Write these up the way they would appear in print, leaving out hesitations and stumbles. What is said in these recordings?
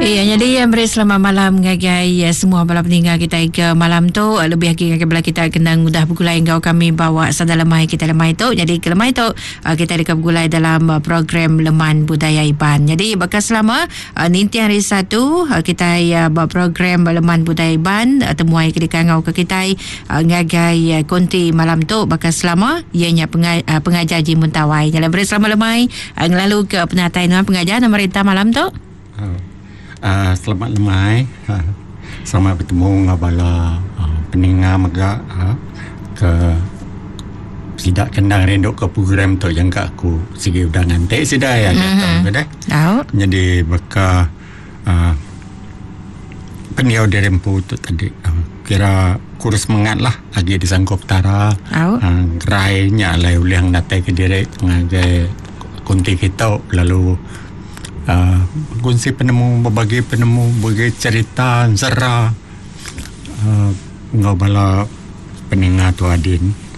Iya jadi meri selamat malam ngagai ya, semua bala peninggal kita ke malam tu lebih lagi ngagai bala kita kena udah begulai enggau kami bawa sada lemai kita lemai tu. Jadi ke lemai tu kita deka begulai dalam program Leman Budaya Iban. Jadi baka selama Ninting hari Satu kitai ba program Leman Budaya Iban temuai ke dikangau ke kitai ngagai konti malam tu baka selama iya nya pengajar Jimbun Tawai. Nya beri selamat lemai ngelalu ke penatai nuan pengajar nama rita malam tu. Selamat lemai. Selamat betemu enggau bala peninga mega ke sida ke endang rindu ke program tu jangka aku sigi udah nganti sida iya diatu deh. Nyadi baka uhh pendiau diri empu tu tadi kira kurus semengat lah agi disangkup Petara uhh gerai nya alai ulih ngenatai ke diri ngagai kunti kitu lalu uhh bekunsi penemu bebagi penemu bebagi cherita ensera uhh enggau bala peninga tuadin.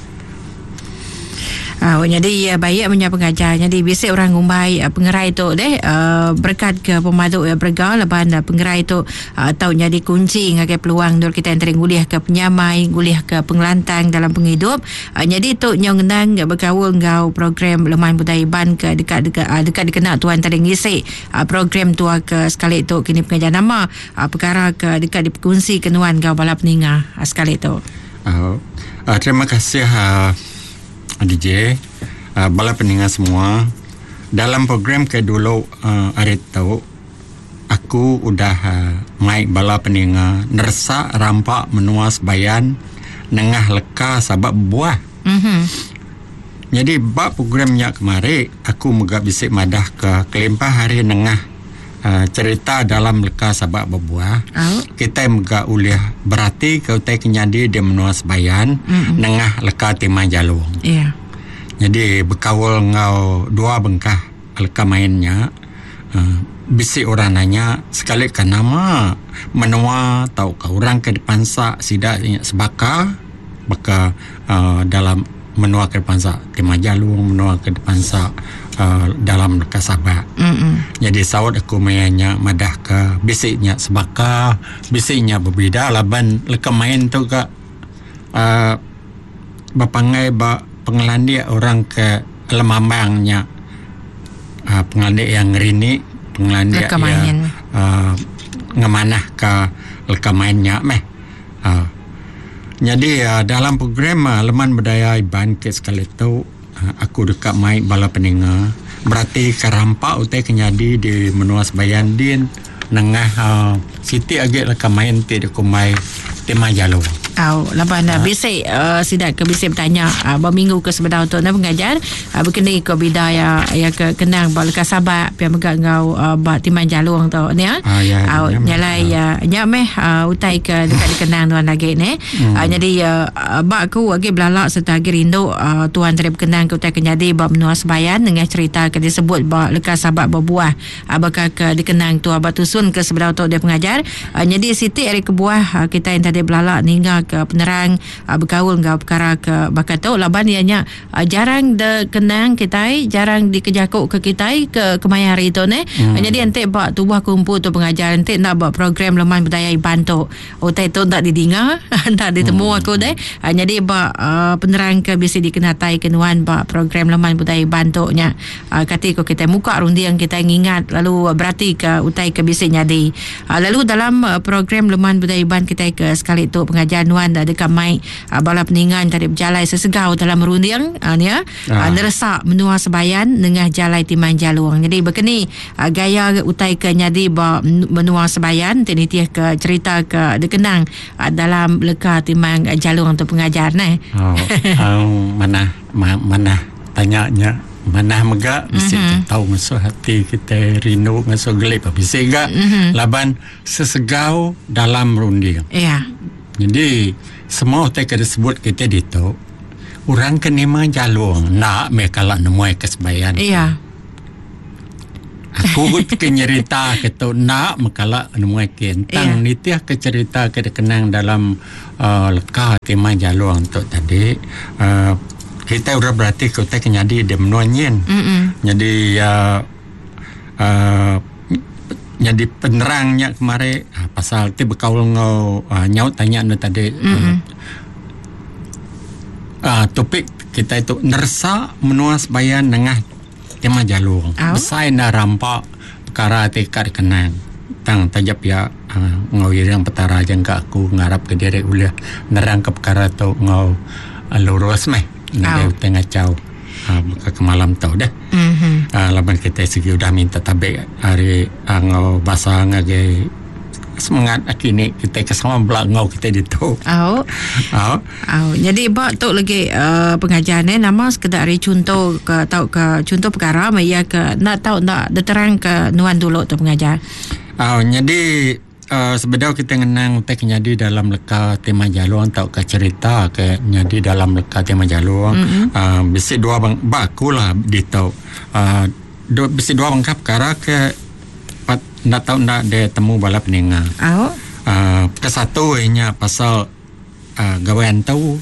Au nyadi iya baik menya pengajar nyadi bisi orang ngumbai pengerai tu deh uhh berekat ke pemadu iya berega laban pengerai tu uhh tau nyadi kunchi ngagai peluang endur kitai enteri ngulih ke penyamai ngulih ke pengelantang dalam pengidup. Uhh nyadi tu nyau ngenang bekaul enggau program Leman Budaya Iban ke deka deka deka dikena tuan tadi ngisi uhh program tua ke sekali tu kini pengajar nama uhh pekara ke deka dipekongsi ke nuan enggau bala peninga sekali tu. Uhh terima kasih uhh DJ uhh bala peninga semua dalam program ke dulu uhh hari tu aku udah uhh mai bala peninga neresa rampa menua sebayan nengah leka sabak bebuah. Nyadi ba program nya kemari aku mega bisi madah ka kelimpah hari nengah uhh cherita dalam leka sabak bebuah kitai mega ulih berati ka utai ke nyadi di menua sebayan nengah leka timai jalung. Nyadi bekaul enggau dua bengkah leka main nya uhh bisi orang nanya sekali ka nama menua tauka orang ke dipansa sida nya sebaka baka uhh dalam menua ke dipansa Timah Jalung menua ke dipansa uhh dalam leka Sabak. Nyadi saut aku maya nya madah ka bisi nya sebaka bisi nya bebida laban leka main tu ka uhh bepangai ba pengelandik orang ke lemambang nya uhh pengelandik iya ngerini pengelandik iya uhh ngemanah ka leka main nya meh. Aa. Nyadi dalam program Leman Budaya Iban ke sekali tu aku deka mai bala peninga beratika rampa utai ke nyadi di menua Sebayan din nengah aaa siti agi leka main ti dikumbai Timah Jalong. Au laban bisi sida ke bisi betanya ba minggu ke sebedau tu nah pengajar bekeni ko bida iya iya ke kenang ba leka sabak pia mega enggau ba Timah Jalong tu nya. Au nya alai nya meh utai ke deka dikenang nuan agi neh. Nyadi ba aku agi belala sereta agi rindu tuan tadi bekenang ke utai ke nyadi ba menua Sebayan nengah cherita ke disebut ba leka sabak bebuah. Baka ke dikenang tua ba tusun ke sebedau tu deh pengajar. Nyadi siti ari kebuah kitai enti tadi belala ninga ke penerang bekaul enggau pekara ke baka tu laban iya nya jarang de kenang kitai jarang dikejaku ke kitai ke kemaya hari tu neh. Nyadi enti ba tubuh aku empu tu pengajar enti enda ba program Leman Budaya Iban tu utai tu enda didinga enda ditemu aku deh. Nyadi ba penerang ke bisi dikenatai ke nuan ba program Leman Budaya Iban tu nya Kati ko kitai muka runding kitai ngingat lalu beratika utai ke bisi nyadi. Lalu dalam program Leman Budaya Iban kitai ke sekali tu pengajar nuan deka mai bala peninga enti bejalai sesegau dalam runding nya neresa menua Sebayan nengah jalai Timang Jalung. Nyadi baka ni gaya utai ke nyadi ba menua Sebayan ti nitihka cherita ke dikenang dalam leka Timang Jalung tu pengajar neh. Manah manah tanya nya. Manah mega bisi mm-hmm. tau ngasuh ati kita rindu ngasuh geli pa bisi ga mm-hmm. laban sesegau dalam runding. Ya. Yeah. Jadi semua utai ke disebut kita ditu orang ke nima jalung enda meh kala nemuai ke sebayan. Ya. Yeah. Aku ke nyerita ke tu enda mekala nemuai ke tang yeah. nitih ke cerita ke dikenang dalam uh, leka tema jalung tu tadi uh, Kitai udah berati ke utai ke nyadi di menua nyin. Nyadi iya uhh Nyadi penerang nya kemari pasal ti bekaul enggau nyaut tanya anu tadi uhh topik kitai tu neresa menua sebayan nengah tema jalung. Besai enda rampa pekara ti ka dikenang tang taja pia uhh enggau iring petara jangka aku ngarap ke diri ulih nerang ke pekara tu enggau lurus meh nadai utai ngachau. Baka ke malam tu deh. Laban kitai sigi udah minta tabi ari enggau basa ngagai semengat aki ini kitai ke sama bela enggau kitai ditu. Au. Au. Au. Nyadi ba tu lagi uh, pengajar ne nama sekeda ari chunto ke tauka chunto perkara meh iya ke enda tau enda diterang ke nuan dulu tu pengajar. Au nyadi Sebedau kitai ngenang utai ke nyadi dalam leka Timah Jalong tauka cherita ke nyadi dalam leka Timah Jalong uhh bisi dua beng ba aku lah ditu uhh bisi dua bengkah pekara ke pat enda tau enda ditemu bala peninga. Uhh ke satu iya nya pasal uhh gawai antu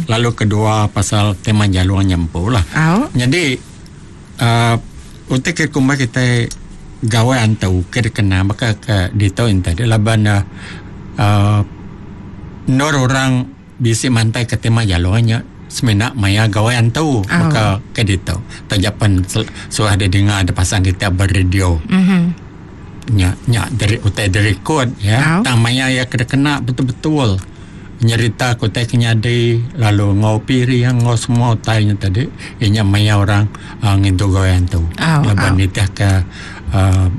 lalu kedua pasal Timah Jalong nya empu lah. Nyadi uhh utai ke kumbai kitai gawai antu ke dikena baka ke ditu enti tadi laban ne uhh endur orang bisi mantai ke Timah Jalong nya semina maya gawai antu baka ke ditu. Taja pen suah didinga da pasang kita ba radio. Nya nya diri utai direkod ya tang maya iya ke dikena betul betul nyerita ke utai ke nyadi lalu enggau piring enggau semua utai nya tadi iya nya maya orang uhh ngintu gawai antu laban nitih ke uhh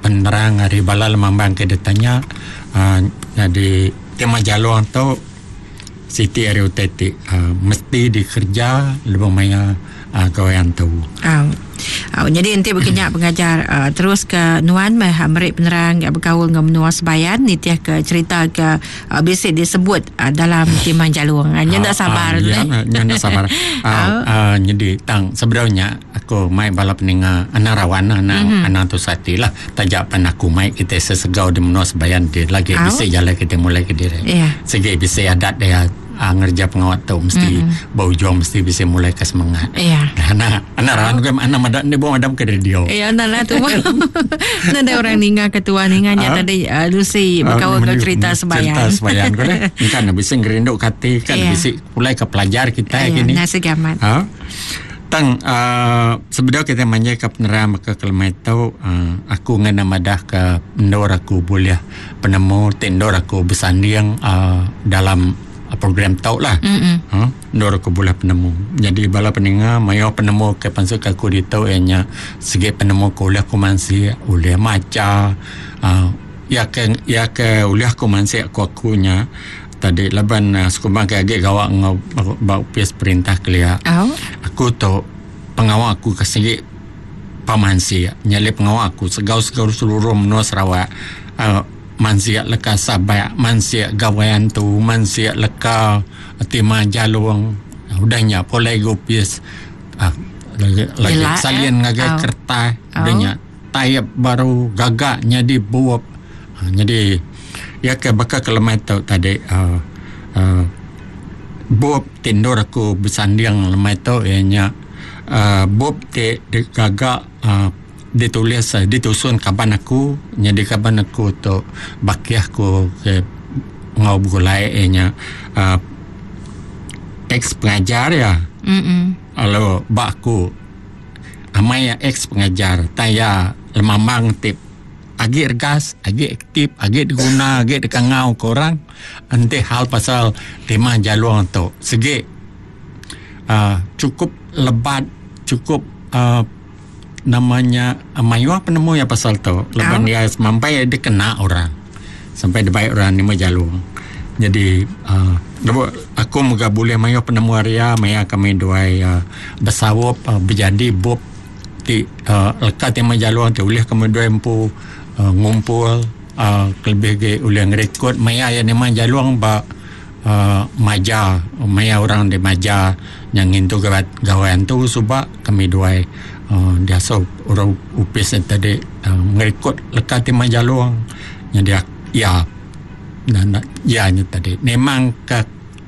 penerang ari bala lemambang ke ditanya uhh nyadi tema jalong tu siti ari utai ti uhh mesti dikereja lebuh maya uhh gawai antu. Au. Au nyadi enti baka nya pengajar uhh terus ke nuan meh meri penerang bekaul enggau menua Sebayan nitih ke cherita ke uhh bisi disebut uhh dalam Timang Jalung. Nya enda sabar tu. Ya nya enda sabar. Au uhh nyadi tang sebedau nya aku mai bala peninga anang rawan anang anang tusah ati lah. Taja pan aku mai kitai sesegau di menua Sebayan ti lagi bisi jalai kitai mulai kediri. Sigi bisi adat iya ngereja pengawa tu mesti ba ujung mesti bisi mulai ke semangat. Anak anak rahan ku anak meda enda buah madam ke radio. Iya enda lah tu. Nadai orang ninga ke tua ninga nya tadi Lucy bekaul enggau cerita Sebayan. Cerita Sebayan ku deh. Engka ne bisi ngerindu ke ati kan bisi pulai ke pelajar kitai kini. Iya sigi amat. Tang uhh sebedau kitai manjai ka penerang baka kelemai tu uhh aku ngena madah ka endur aku bulih penemu ti endur aku besanding uhh dalam program tu lah. Uhh endur aku bulih penemu. Nyadi bala peninga mayuh penemu ke pansut ka aku ditu iya nya sigi penemu ke ulih ku mansik ulih macha uhh iya ke iya ke ulih ku mansik ku aku nya Tadi laban sekumbang ke agi gawa enggau ba opis perintah kelia. Aku tu pengawa aku ke sigi pemansik nyadi pengawa aku segau-segau seluruh menua Sarawak uhh mansik leka sabak, mansik gawai antu, mansik leka timah jalung udah nya pulai ga opis uhh lagi salin ngagai kertas udah nya taip baru gaga nyadi bup. Nyadi iya ke baka ke lemai tu tadi uhh bup ti endur aku besanding lemai tu iya nya uhh bup ti digaga uhh ditulis ditusun kaban aku nyadi kaban aku tu bakih aku ke enggau begulai iya nya uhh ex pengajar iya lalu ba aku amai iya ex pengajar tang iya lemambang ti Agi regas, agi aktif, agi diguna, agi dikangau ke orang enti hal pasal tema jalung tu sigi uhh chukup lebat chukup uhh nama nya mayuh penemu iya pasal tu laban iya semampai dikena orang sampai dibai orang nyema jalung. Jadi uhh lebuh aku mega bulih mayuh penemu ari iya maya kami duai besaup bejadi bup. Ti leka ti meh jalung ti ulih ke medoi empu ngumpul kelebih agi ulih ngerekod maya iya nemang jalung ba maja maya orang di maja nya ngintu gawai antu suba kami duai diasuh orang opis ne tadi ngerekod leka ti meh jalung nyadi iya. Iya nya tadi memang ka.